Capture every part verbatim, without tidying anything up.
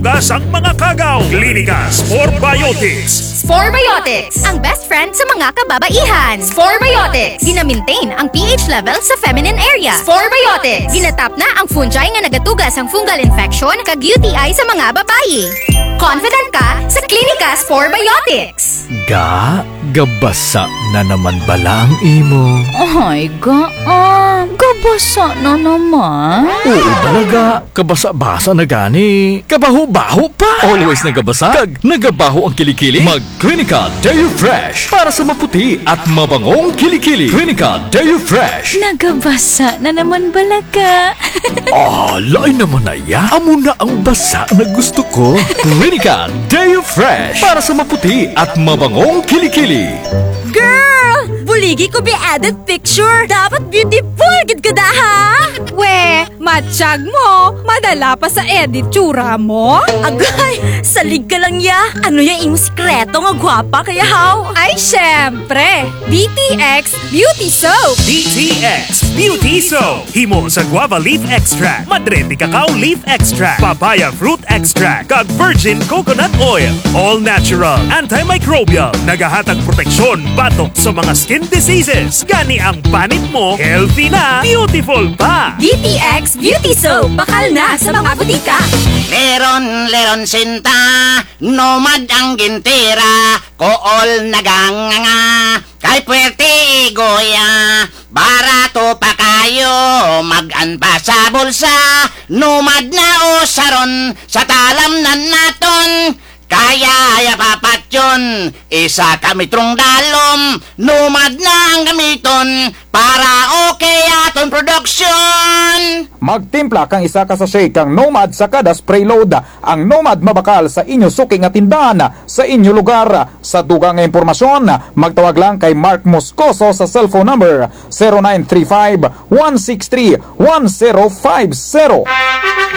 Kasang mga kagaw, Clinica Spore Biotics. Spore Biotics, ang best friend sa mga kababaihan. Spore Biotics, gina-maintain ang P H level sa feminine area. Spore Biotics, ginatap na ang fungi nga nagatuga sang fungal infection kag U T I sa mga babayi. Confident ka sa Clinica Spore Biotics. Ga, gabasa na naman bala ang imo? Ay, ga, ah, gabasa na naman. Oo bala, ga. Kabasa-basa na gani. Kabaho-baho pa. Always nagabasa kag nagabaho ang kilikili. Mag Clinica Deo Fresh para sa maputi at mabangong kilikili. Clinica Deo Fresh. Nagabasa na naman bala ka. Ah, lain naman na ya. Amo na ang basa na gusto ko. Clinica Deo Fresh para sa maputi at mabangong kilikili. Girl! Buligi ko bi edit picture. Dapat beautiful gid ka da, ha? We, matyag mo, madala pa sa edit tsura mo? Agay, salig ka lang ya. Ano ya imo sikreto nga gwapa ka ya, haw? Ay, syempre! D T X Beauty Soap! D T X Beauty Soap! Himo sa guava leaf extract, madre de cacao leaf extract, papaya fruit extract, kag virgin coconut oil. All natural, antimicrobial, nagahatag proteksyon batok sa mga skin diseases. Gani ang panit mo, healthy na, beautiful pa! D T X Beauty Soap, bakal na sa mga butika. Leron, leron sinta, Nomad ang gintira, kool naganganga, kay puwerte igoya, barato pa kayo, mag-an pa sa bulsa, Nomad na usaron, sa talamnan naton, kaya ya papatyon, isa ka metrong dalom, Nomad na ang gamiton, para okay aton production. Magtimpla kang isa ka sachet kang Nomad sa kada spray load. Ang Nomad mabakal sa inyo suki nga tindahan, sa inyo lugar. Sa dugang nga impormasyon, magtawag lang kay Mark Moscoso sa cellphone number zero nine three five, one six three, one zero five zero.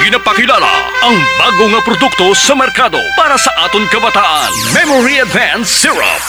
Ginapakilala ang bago nga produkto sa merkado para sa aton kabataan, Memory Advance Syrup.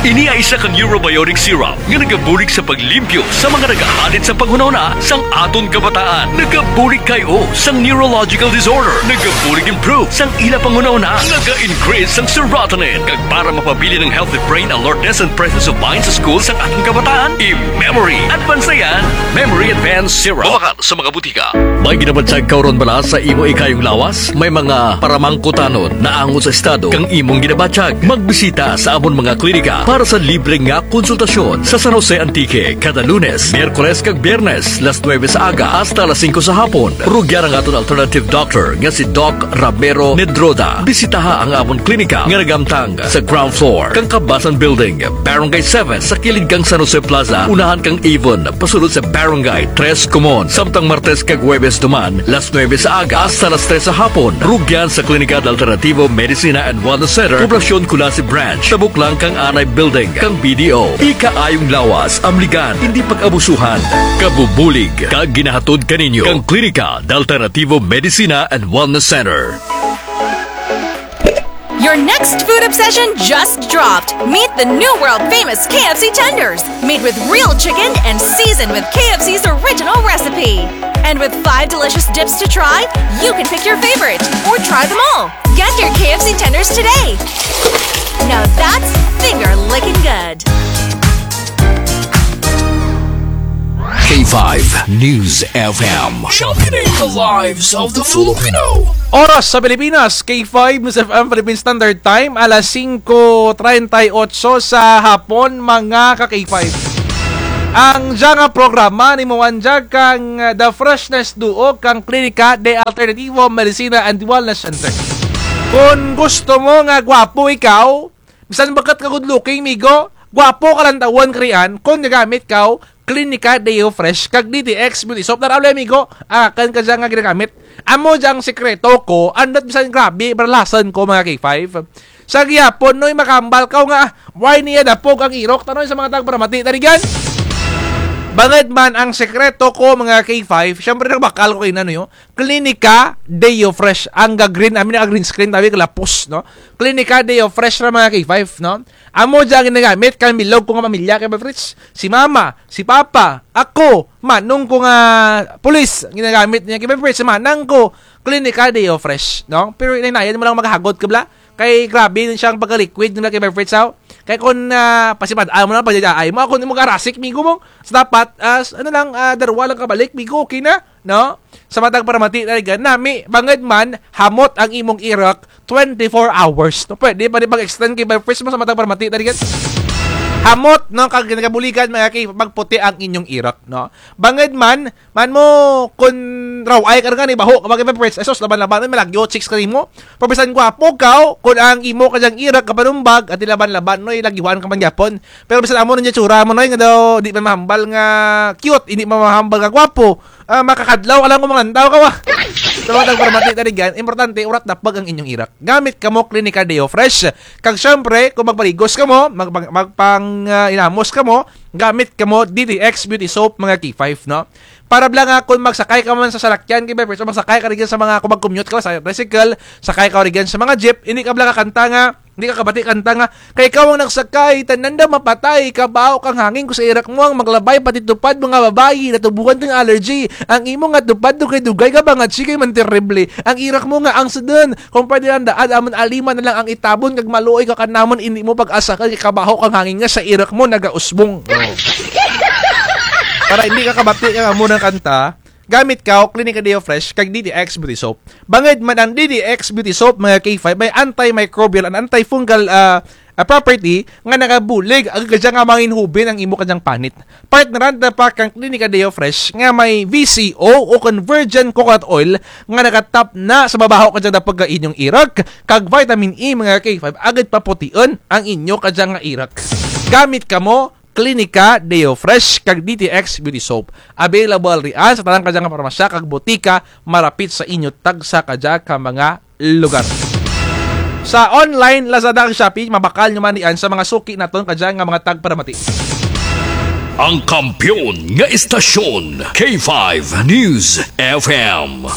Ini ay isa ka neurobiotic syrup nga nagabulig sa paglimpyo sa mga nagahadit sa panghunahuna sang aton kabataan. Nagabulig kay-o sang neurological disorder. Nagabulig improve sang ila panghunahuna. Naga-increase sang serotonin. Kag para mapabilin ang healthy brain alertness and presence of mind sa school sang aton kabataan, i-Memory Advance na yan. Memory Advance Syrup. Mabakal sa mga butika. May ginabatyag ka run bala sa imo ikayong lawas? May mga paramangkutanon naangot sa estado kang imong ginabatyag? Magbisita sa amon mga klinika para sa libre nga konsultasyon sa San Jose, Antique, kada Lunes, Miyerkules kag Biyernes, las nuebe sa aga hasta las singko sa hapon. Rugyan ang aton alternative doctor nga si Doc Ramiro Medroda. Bisitaha ang amon klinika nga nagahamtang sa ground floor kang Kabasan Building, Barangay seven, sa kilid kang San Jose Plaza, unahan kang Avon, pasulod sa Barangay Tres Comuns. Samtang Martes kag Huwebes duman, las nuebe sa aga hasta las tres sa hapon. Rugyan sa Klinika de Alternativo Medicina and Wellness Center, Poblacion Culasi Branch, tabok lang kang anay building kang B D O. Ikaayong lawas, amligan, indi pag-abusuhan. Kabubulig kag ginahatod kaninyo kang Klinika de Alternativo Medicina and Wellness Center. Your next food obsession just dropped. Meet the new world famous K F C tenders, made with real chicken and seasoned with K F C's original recipe. And with five delicious dips to try, you can pick your favorite or try them all. Get your K F C tenders today. Now that's finger licking good. K five News F M. Championing the lives of the Filipino. Oras sa Pilipinas, K five News F M Philippine Standard Time, alas singko treinta y ocho sa hapon, mga ka K five. Ang dya nga programa nahimuan dya kang, uh, The Freshness Duo kang Klinika de Alternativo Medicina and Wellness Center. Kon gusto mo nga gwapo ikaw, bisan bag-at ka good looking, migo, gwapo ka lantawun, karian, kon gagamit kaw Klinika Deo Fresh kag D T X Beauty Soap. Tara uli, migo, akun kadya nga ginagamit. Amo dyang sikreto ko, andut bisan grabe, baralasan ko, mga K five. Sa gihapon, Noy, makahambal kaw nga, ah, why niya dapog ang irok, tanoy sa mga tagparamati, tarigan. Bangud man ang sikreto ko, mga K five, syempre nagbakal ko kanina, no, yo. Klinika Deo Fresh. Ang ga-green, I mean, ang green screen, tabi, kalapos, no? Klinika Deo Fresh ra, mga K five, no? Amo dya ginagamit kang bilog ko nga pamilya, K five Fritz. Si mama, si papa, ako, manong ko nga pulis, ginagamit niya, K five Fritz, manang ko, Clinica Deo Fresh, no? Pero hinay-hinayan mo lang maghagot ka bala. Kay grabe na siyang pagka-liquid nila kay Bevfresh, aw. Kay kon, ah, pasimad-an mo lang, pagdyadyaan mo, kon imo garasik, migo mo. Sa dapat, as, ano lang, ah, darwa lang kabalik, migo, okay na, no? Sa matag paramati na rigan, nami, bangud man, hamot ang imong irok, twenty-four hours. No, pwede pa rin pag-extend kay Bevfresh mo sa matag paramati na rigan. Hamot, no, kag nagabuligan, mga kay, magputi ang inyong irok, no? Bangud man, man mo, kun raw ay ka nga ni baho, kapag may press, esos, laban-laban, may malagyo, chicks ka nimo. Pero bisan gwapo ka, kun ang imo ka dyang irok, kapanumbag, at laban-laban, noy, lagyuhan ka man gyapon. Pero bisan amo na dyan tsura mo, noy, nga daw, di pa mahambal nga cute, hindi pa mahambal nga gwapo. Ah, makakadlaw ka lang kung mangantaw ka, wa. Sa matag paramati na rigan, importante, urat dapag ang inyong irok. Gamit kamo Clinica Deo Fresh. Kag syempre, kung magpaligos kamo, mag-, mag-, magpang, ah, inamos kamo, gamit kamo D T X Beauty Soap, mga K five, no? Para bala nga kung magsakay ka man sa salakyan, kay Bevfresh, o magsakay ka rigan sa mga, kung mag-commute ka sa tricycle, sakay ka rigan sa mga jeep, hindi ka bala kakanta nga, hindi ka kabati kanta nga, "Kay ikaw ang nagsakay, tanan daw mapatay, kabaho kang hangin ko sa irok mo ang maglabay, pati tupad mga babayi, natubuhan kang allergy, ang imo nga tupad dugay-dugay ka ba nga chikay man terrible, ang irok mo nga ang sudun, kung pwede lang daan, amon alima na lang ang itabon, kag maluoy ka kanamon, hindi mo pag-asakan, kay kabaho kang hangin nga sa irok mo, nagausbong." Oh. Para hindi ka kabati nga amo nga kanta, gamit ka, o Clinica Deo Fresh, kag D T X Beauty Soap. Bangud man ang D T X Beauty Soap, mga K five, may antimicrobial and antifungal, ah, ah, property nga nagabulig, agud kadya nga manginhubin ang imo kadyang panit. Partneran ta pa kang Clinica Deo Fresh nga may V C O o kon virgin coconut oil nga nagatap na sa mabaho kadyang dapag ka inyong irok, kag vitamin E, mga K five, agud paputiun ang inyo kadyang nga irok. Gamit kamo, Clinica Deo Fresh, kag D T X Beauty Soap. Available rian sa tanan kadya nga parmasya kag botika, marapit sa inyo tagsa kadya ka mga lugar. Sa online, Lazada kag Shopee, mabakal nyo man rian sa mga suki naton kadya nga mga tagparamati. Ang kampiyon nga istasyon, K five News F M.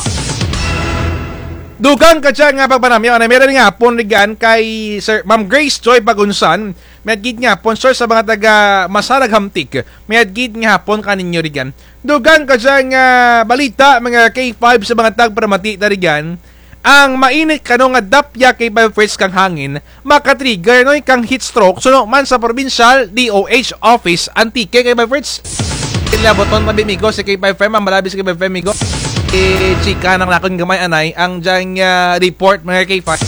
Dugang kadya nga pagpanamyaw, anay, meron nga hapon rigan kay Sir, Ma'am Grace Joy Pagunsan, mayad gid nga hapon, sir, sa mga taga Masarag Hamtic. Mayad gid nga hapon kaninyo rigan. Dugang kadya nga balita, mga K five, sa mga tagparamati ta rigan. Ang mainit kano nga dapya kay Bevfresh kang hangin, makatrigger, noy, kang heat stroke, suno man sa provincial D O H office, Antique, kay Bevfresh. Ilaboton tabi, migo, si K five F M, ang malabi si K five F M, migo. I-chika nang nakon gamay, anay, ang dyang, ah, report, mga K five.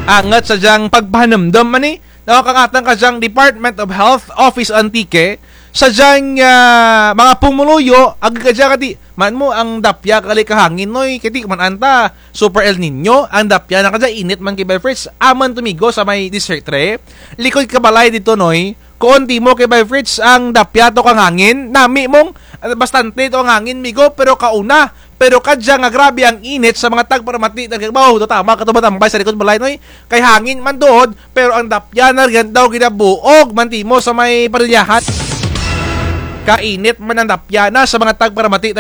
Angat sa dyang pagpahanumdum man ni, no, kang atun kadyang Department of Health Office Antique, sa dyang, ah, mga pumuluyo, agud kadya kadi, man mo ang dapya kali ka hangin, noy, kadi man anta, Super El Niño, ang dapya na kadya, init man kay Bevfresh, amun to migo sa may District three, likod ka balay didto, noy, kuon timo kay Bevfresh, ang dapya to kang hangin, nami mong, ah, bastante to ang hangin, migo, pero kauna, pero kadya nga grabe ang init sa mga tagparamati, nagkagbaw, to tama ka to matambay sa likod balay, noy, kay hangin man tuod, pero ang dapya na rigan daw ginabuog man timo sa may parilyahan. Kainit man ang dapya na sa mga tagparamati.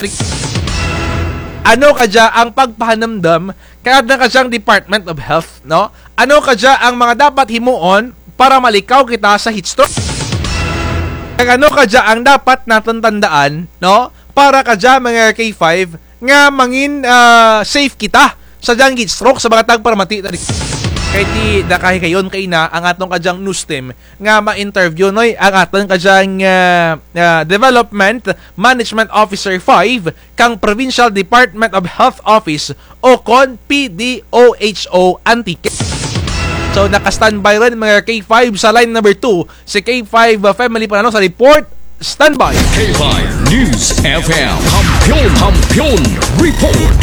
Ano kadya ang pagpahanumdum kay atun kadyang Department of Health, no? Ano kadya ang mga dapat himuon para malikaw kita sa heat stroke? Kag ano kadya ang dapat natun tandaan, no? Para kadya mga K five, nga mangin, ah, safe kita sa dyang heat stroke sa mga tagparamati ta rigan. Kay ti da kahigayon kaina ang atun kadyang news team nga ma-interview, noy, ang atun kadyang, ah, ah, Development Management Officer five kang Provincial Department of Health Office o kon P D O H O Antique. So, naka-standby run, mga K five, sa line number two, si K five, ah, Family Panalo sa report. Standby. K five News F M. Kampiyon, Kampiyon Report.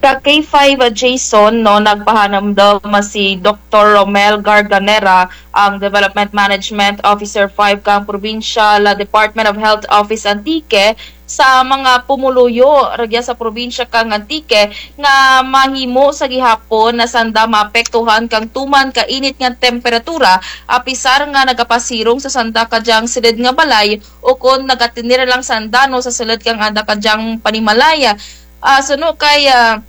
Ka K five, ah, Jason, no, nagpahanumdum si Doktor Romel Garganera, ang Development Management Officer five kang Provincial, ah, Department of Health Office Antique, sa mga pumuluyo rugya sa probinsya kang Antique nga mahimo sa gihapon na sanda maapektuhan kang tuman ka init nga temperatura, apisar nga nagapasirong sa sanda kadyang sulud nga balay ukon nagatinir lang sanda, no, sa sulud kang anda kadyang panimalay. Ah, suno kay, ah,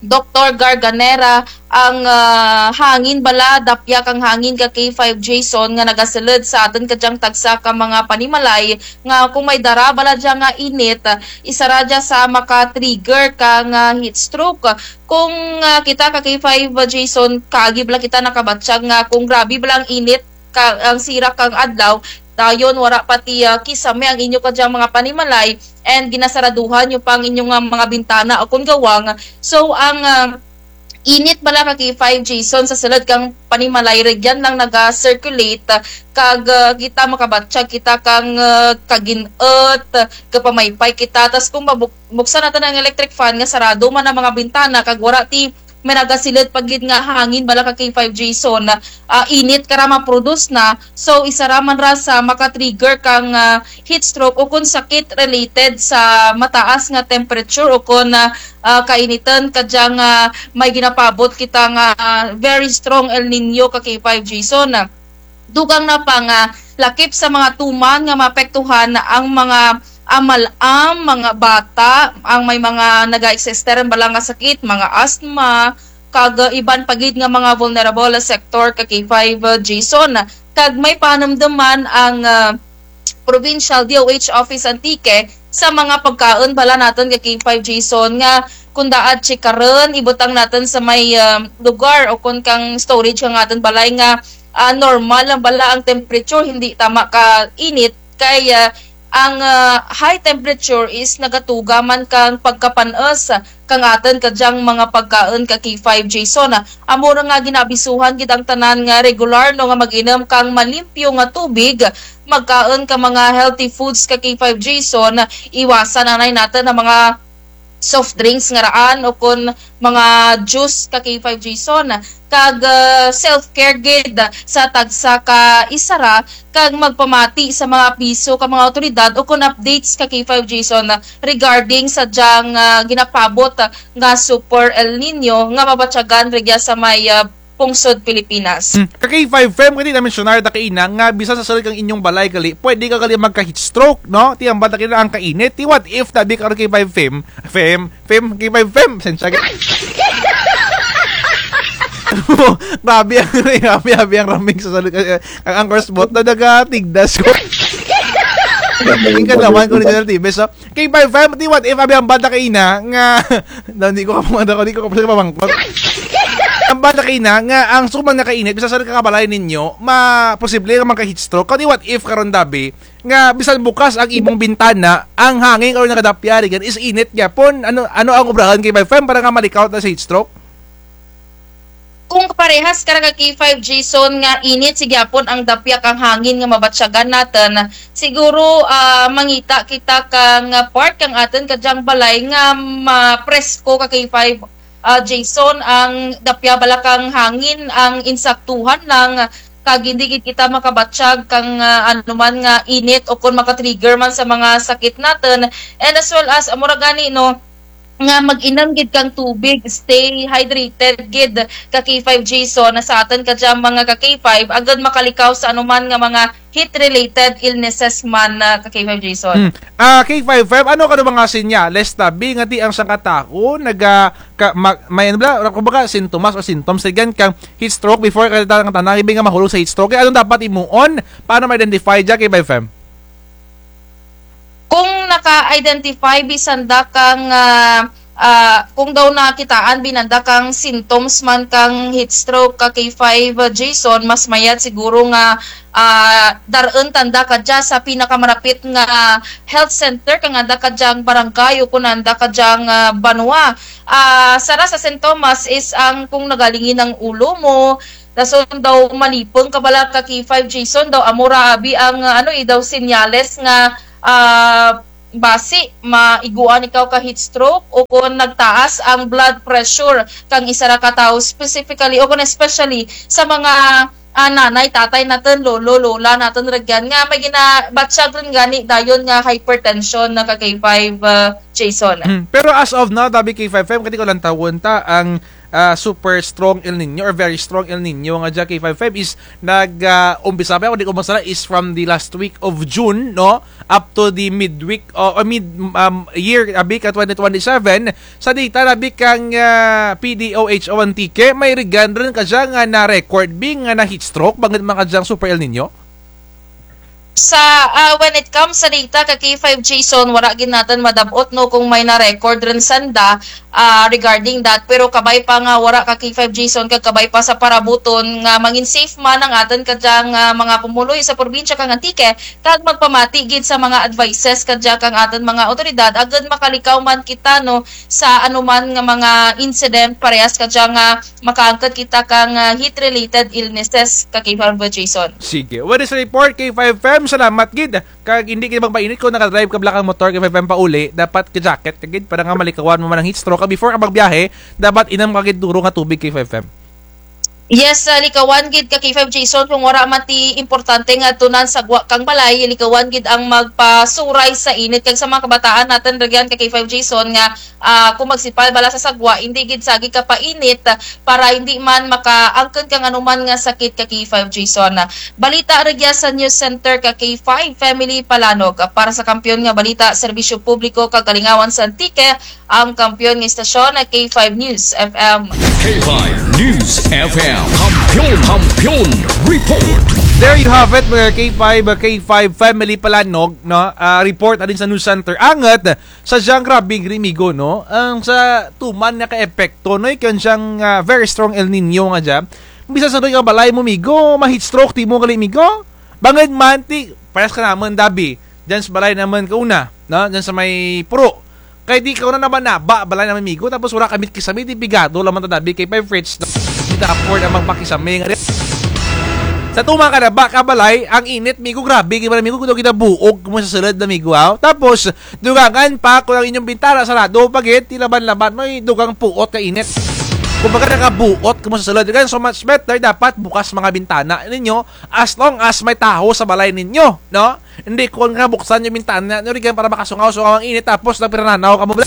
Doktor Garganera, ang, ah, hangin bala, dapya kang hangin ka K five Jason nga nagasulud sa atun kadyang tagsa ka mga panimalay nga kung may dara bala dya nga init, ah, isara dya sa maka-trigger kang, ah, heat stroke. Kung, ah, kita ka K five Jason, kaagi bala kita nakabatyag nga kung grabe bala ang init, ka, ang sirak kang adlaw, dayon wara pa ti, ah, kisame ang inyo kadyang mga panimalay, and ginasaraduhan nyo pa ang inyo nga mga bintana o kon gawang. So, ang, ah, init bala ka K five Jason sa sulud kang panimalay, rugyan lang naga-circulate, ah, kag, ah, kita makabatyag kita kang, ah, kagin-ut, gapamaypay kita. Tas kung mabuk-, buksan natun ang electric fan nga sarado man ang mga bintana, kag wara ti may nagasulud pa gid nga hangin bala ka K five Jason, ah, init kara ma-produce na. So, isara man ra sa maka-trigger kang, ah, heat stroke o kon sakit related sa mataas nga temperature o kon, ah, ah, kainitun kadyang, ah, may ginapaabot kita nga, ah, very strong El Niño ka K five Jason. Dugang na pa nga lakip sa mga tuman nga maapektuhan ang mga amal-am, mga bata, ang may mga naga-existe run bala nga sakit, mga asthma, kag iban pa gid nga mga vulnerable sector ka K five Jason. Kag may panumduman ang, ah, Provincial D O H Office Antique sa mga pagkaun bala natun ka K five Jason nga kung daad tsikarun, ibutang natun sa may, ah, lugar o kon kang storage kang atun balay nga, ah, normal lang bala ang temperature, hindi tama ka init, kay, ah, ang, ah, high temperature is nagatuga man kang pagkapan-us kang atun kadyang mga pagkaun ka K five Jason. Amo ra nga ginaabisuhan gid ang tanan nga regular, no, nga mag-inum kang malimpyo nga tubig, magkaun ka mga healthy foods ka K five Jason, iwasan anay natun ang mga soft drinks nga raan o kon mga juice ka K five Jason. Kag, ah, self-care gid sa tagsa ka isara, kag magpamati sa mga abiso ka mga awtoridad o kon updates ka K five Jason regarding sa dyang, ah, ginapaabot nga Super El Niño nga mabatyagan rugya sa may, ah, pungsod Pilipinas. Hmm. Ka K five Fem, kadi na-mensionar ta kaina nga bisan sa sulud kang inyong balay gali, pwede ka gali magka-heat stroke, no? Ti ambal ta kaina ang kainit. Ti what if tabi karon K five Fem, Fem, Fem, K five Fem, sensya ka. Grabe ang, grabe, grabe ang ramig sa sulud. Ang, ang first bot na nagatigdas ko. Ang kadawan ko ni General Tibes, so, K five Fem, ti what if abi ambal ta kaina nga, daw, di ko kapamangkot, di ko kapamangkot. Ambal ta kaina nga ang suman nga kainit, bisan sa sulud kang balay ninyo, ma-, posible nga magka-heat stroke. Kadi what if karon tabi, nga bisan bukas ang imong bintana, ang hangin karon nagadapya rugyan is init gihapon. Ano, ano ang obrahun K five Fem para nga malikaw ta sa heat stroke? Kung parehas kara ka K five Jason nga init, sige gihapon ang dapya kang hangin nga mabatyagan natun. Siguro, ah, mangita kita kang part kang atun kadyang balay nga mapresko ka K five, ah, Jason, ang dapya bala kang hangin, ang insaktuhan lang, kag hindi gid kita makabatyag kang, ah, anuman nga init o kon maka-trigger man sa mga sakit natun. And as well as, amo ra gani, no, nga mag-inum gid kang tubig, stay hydrated gid ka K five Jason, na sa atun kadyang mga ka K five, agud makalikaw sa anuman nga mga heat-related illnesses man, ah, ka K five Jason. Hmm. Ah, K five Fem, ano kano mga senyales tabi nga ti ang sangka tawo naga-, ka-, ma-, may ano bala, kumbaga, sintomas o symptoms rugyan kang heat stroke before ka ta-, nga tanan, ibi nga mahulog sa heat stroke. Kay ano dapat himuon? Paano ma-identify dya, K five Fem? Kung naka-identify bisan da kang, ah, ah, kung daw nakitaan bisan da kang symptoms man kang heat stroke ka K five, ah, Jason, mas mayad siguro nga, ah, dar-un tanda kadya sa pinakamarapit nga health center kang anda kadyang barangay o kon anda kadyang, ah, banwa. Ah, sara sa sintomas is ang kung nagalingin ang ulo mo, dason daw malipung ka bala ka K five Jason, daw amo ra abi ang, ah, ano, eh, daw senyales nga, ah, basi maiguan ikaw ka heat stroke o kon nagtaas ang blood pressure kang isara ka tawo specifically o kon especially sa mga, ah, nanay, tatay natun, lolo, lola natun rugyan nga may ginabatyag run gani dayon nga hypertension na ka K five, ah, Jason. Hmm. Pero as of now, tabi K five F M, kadi ko lang tawon ta ang ah, super strong El Nino or very strong El Nino nga dya K five F M is nag, ah, umpisa pa, kung di ko masala, is from the last week of June, no? Up to the midweek, o, o mid, um, year, abi ka twenty twenty-seven, sa data, abi kang, ah, P D O H O Antique, may rigan run kadya nga na-record, bi nga na-heat stroke, bangud man kadyang super El Nino? Sa, ah, when it comes sa data ka K five Jason, wara gid natun madab-ot, no, kung may na-record run sanda, ah, regarding that. Pero kabay pa nga wara ka K five Jason, kag kabay pa sa parabuton nga mangin safe man ang atun kadyang, ah, mga pumuluyo sa probinsya kang Antique, kag magpamati gid sa mga advices kadya kang atun mga awtoridad, agud makalikaw man kita, no, sa anuman nga mga incident parehas kadya nga makaangkon kita kang, ah, heat-related illnesses ka K five Jason. Sige. What is report, K five F M? Salamat gid. Kag indi gid magpainit kon naka-drive ka bala kang motor, K five F M, pauli. Dapat ka-jacket ka gid para nga malikawan mo man ang heat stroke. Kag before ka magbiyahe, dapat inum ka gid duro nga tubig, K five F M. Yes, ah, likawan gid ka K five Jason, kung wara man ti importante nga tunan sa gwa kang balay, likawan gid ang magpasuray sa init. Kag sa mga kabataan natun, rugyan ka K five Jason nga ah, kung magsipal bala sa sagwa, indi gid sagi kapainit, ah, para indi man makaangkon kang anuman nga sakit ka K five Jason. Balita rugya sa News Center ka K five Family Palanog. Para sa Kampiyon nga Balita, Serbisyo Publiko kag Kalingawan sa Antique, ang kampiyon nga istasyon, K five News F M. K five News F M. Kampiyon, Kampiyon Report. There you have it, mga K five, K five Family Palanog, no? Ah, report halin sa News Center. Angut, sa dyang grabe gid, migo, no? Ang sa tuman nga kaepekto, no, kang dyang, ah, very strong El Nino nga dya. Bisan sa doy ka balay mo, migo, ma-heat stroke ti mo gali, migo. Bangud man ti, parehas ka namun, dabi. Dyan sa balay namun kauna, no? Dyan sa may puro. Kay di kauna naba-naba balay namun, migo. Tapos wara kami kisame, ti pigado lang man ta, dabi, kay five Fritz, no? Di ta afford ang magpakisame nga rin. Sa tuman ka naba ka balay, ang init, migo, grabe, kay migo, kuno kita buog mo sa sulud na, migo, aw. Tapos, dugangan pa, kung ang inyong bintana sarado pa gid, ti laban-laban, no, dugang puot ka init. Kumbaga, nakabuot kamo sa sulud. Kaya so much better, dapat bukas mga bintana ninyo as long as may tahaw sa balay ninyo, no? Hindi kon nga buksan yung bintana nyo, rugyan, para makasungaw-sungaw ang init, tapos nagpirananaw kamo.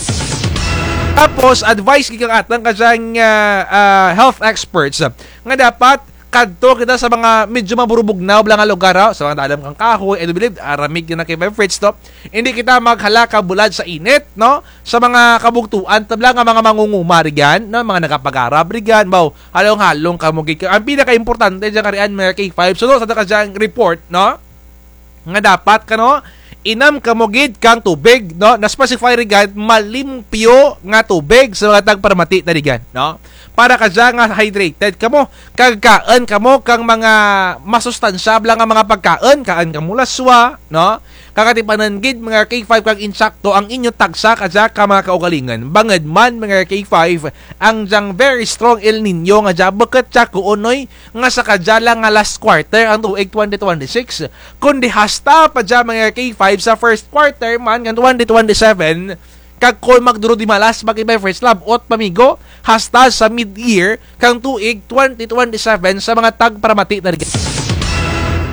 Tapos, advice gid kang atun kadyang, ah, ah, health experts nga dapat kadto kita sa mga medyo maburubugnaw bala nga lugar, ha? Sa mga dalum kang kahoy, I do believe, ah, ramig na kay five Fritz, no? Hindi kita maghala ka bulad sa init, no? Sa mga kabugtuan ta bala nga mga mangunguma rugyan, no? Mga nagapag-arab rugyan, baw, halong-halong kamo gid. Ang pinakaimportante dyan karian, mga K five. So, no, sa kadyang report, no? Nga dapat kano, inum kamo gid kang tubig, no? Na-specify rugyan, malimpyo nga tubig sa mga tagparamati ta rugyan, no? Para kadya nga hydrated kamo, kag kaun kamo kang mga masustansya bala nga mga pagkaun, kaun kamo laswa, no? Kag atipanan gid, mga K five, kag insakto ang inyo tagsa kadya ka mga kaugalingon. Bangud man, mga K five, ang dyang very strong El Nino nga dya, bukut dya kuon, noy, nga sa kadya lang nga last quarter ang tuig twenty twenty-six, kundi hasta pa dya, mga K five, sa first quarter man kang twenty twenty-seven, kag kon magduro di malas, mga K five Fritz, lab-ot pa, migo, hasta sa mid-year kang tuig twenty twenty-seven sa mga tagparamati ta rugyan.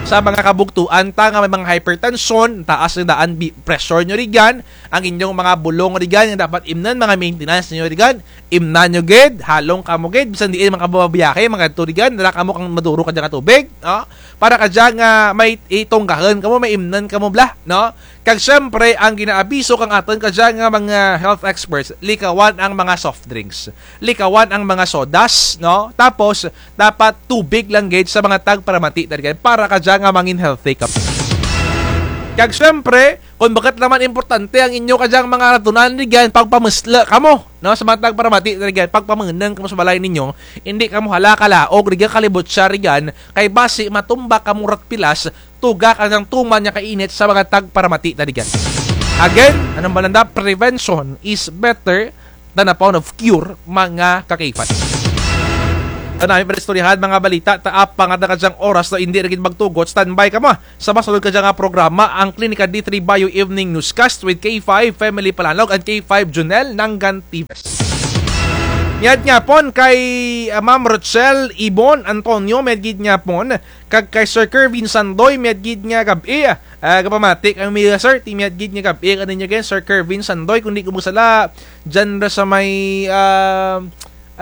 Sa mga kabugtuan ta nga may mga hypertension, taas ang daan bi-, pressure nyo rugyan, ang inyong mga bulong rugyan, nga dapat imnun, mga maintenance nyo rugyan, imnan nyo gid, halong kamo gid, bisan diin man kamo mabiyahe, mga adto rugyan, dara kamo kang maduro kadya nga tubig, no? Para kadya nga may itunggahun kamo, may imnun kamo bala, no? Kag siyempre, ang ginaabiso kang atun kadya nga mga health experts, likawan ang mga soft drinks, likawan ang mga sodas, no? Tapos, dapat tubig lang gid sa mga tagparamati ta rugyan para kadya nga mangin healthy kamo. Kag siyempre, kon bukut lang man importante ang inyo kadyang mga ratunan rugyan, pagpamuslu kamo, no? Sa mga tagparamati ta rugyan, pagpamunung kamo sa balay ninyo, indi kamo hala kalaog rugyan, kalibutsa rugyan, kay basi matumba kamo rat pilas, tuga kadyang tuman nga kainit sa mga tagparamati ta rugyan. Again, anong balanda? Prevention is better than a pound of cure, mga ka-K five. Tanami pa istoryahan, mga balita, ta apa nga kadyang oras na indi ra gid magtugot, standby kamo. Sa masunod kadya nga programa, ang Klinika D three Bio Evening Newscast with K five Family Palanog and K five Junel Nangan Tives. Mayad gihapon kay, ah, Ma'am Rochelle Ibon Antonio, mayad gid gihapon. Kag kay Sir Kervin Sandoy, mayad gid nga gab-i. Ah, gapamati kami, sir, ti mayad gid nga gab-i kaninyo gid, Sir Kervin Sandoy, kon di ko magsala, dyan ra sa may, ah,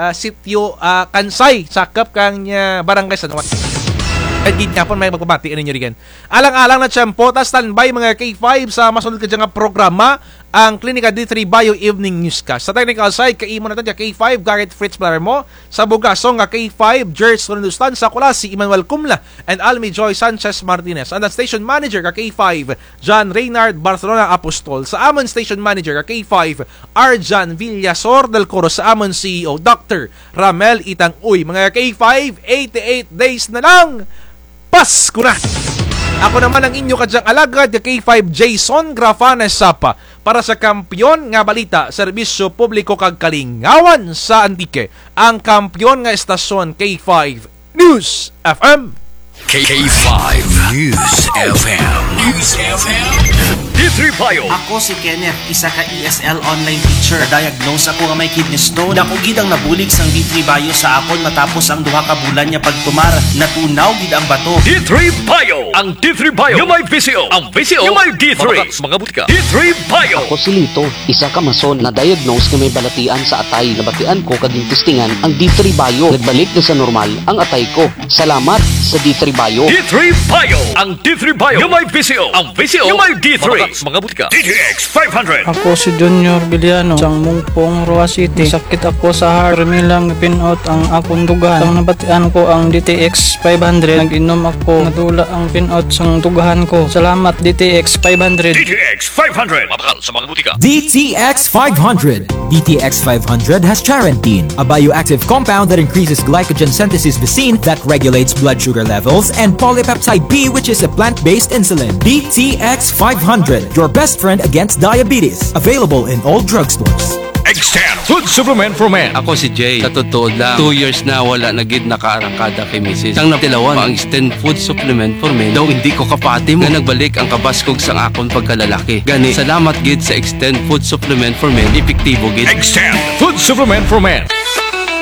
ah, sitio, ah, Kansay, sakop kang, ah, Barangay San Juan. Mayad gid gihapon, may magpamati kaninyo rugyan. Alang-alang na tiyempo, ta standby, mga K five, sa masunod kadya nga programa, ang Klinika D three Bio Evening Newscast. Sa technical side, kaimo natun dya K five, Garrett Fritz Palermo. Sa bugasong ka K five, George Ronaldustan. Sa kulasi, Emmanuel Cumla and Almi Joy Sanchez Martinez. And ang station manager ka K five, John Reynard Barcelona Apostol. Sa amun station manager ka K five, Arjan Villasor del Coro. Sa amun C E O, Doctor Ramel Itang Uy. Mga K five, eighty-eight days na lang. Pasko na! Ako naman ang inyo kadyang alagad, ka K five Jason Grafana Sapa, para sa Kampiyon nga Balita, Serbisyo Publiko kag Kalingawan sa Antique, ang kampiyon nga estasyon, K five News F M. K five News F M. News F M. D three Bio. Ako si Kenneth, isa ka E S L online teacher. Diagnose ako nga may kidney stone. Dako gid ang nabulig sang D three Bio sa akon matapos ang duha ka bulan nga pagtumar. Natunaw gid ang bato. D three Bio. Ang D three Bio nga may V C O. Ang V C O nga may D three. Mabakal sa mga butika. D three Bio. Ako si Lito, isa ka mason, na-diagnose nga may balatian sa atay. Nabatian ko kag gintestingan ang D three Bio. Nagbalik na sa normal ang atay ko. Salamat sa D three Bio. D three Bio. Ang D three Bio nga may V C O. Ang V C O nga may D three. Mabakal sa mga butika. D T X five hundred. Ako si Junior Villano, sang Mungpong, Roxas City. Sakit ako sa heart. Pirmi lang pin-out ang akon dughan. Ang nabatian ko ang D T X five hundred. Nag-inom ako. Nadula ang pin-out sang dughan ko. Salamat, D T X five hundred. D T X five hundred. Mabakal sa mga butika. D T X five hundred. D T X five hundred has charantine, a bioactive compound that increases glycogen synthesis vacin that regulates blood sugar levels, and polypeptide B, which is a plant-based insulin. D T X five hundred, your best friend against diabetes. Available in all drugstores. Extend Food Supplement for Men. Ako si Jay. Sa totoo lang, two years na wala na gid nakaarangkada kay misis. Sang natilawan, ang Extend Food Supplement for Men daw hindi ko kapati mo nga nagbalik ang kabaskog sang akon pagkalalaki. Gani, salamat gid sa Extend Food Supplement for Men, epektibo gid. Extend Food Supplement for Men.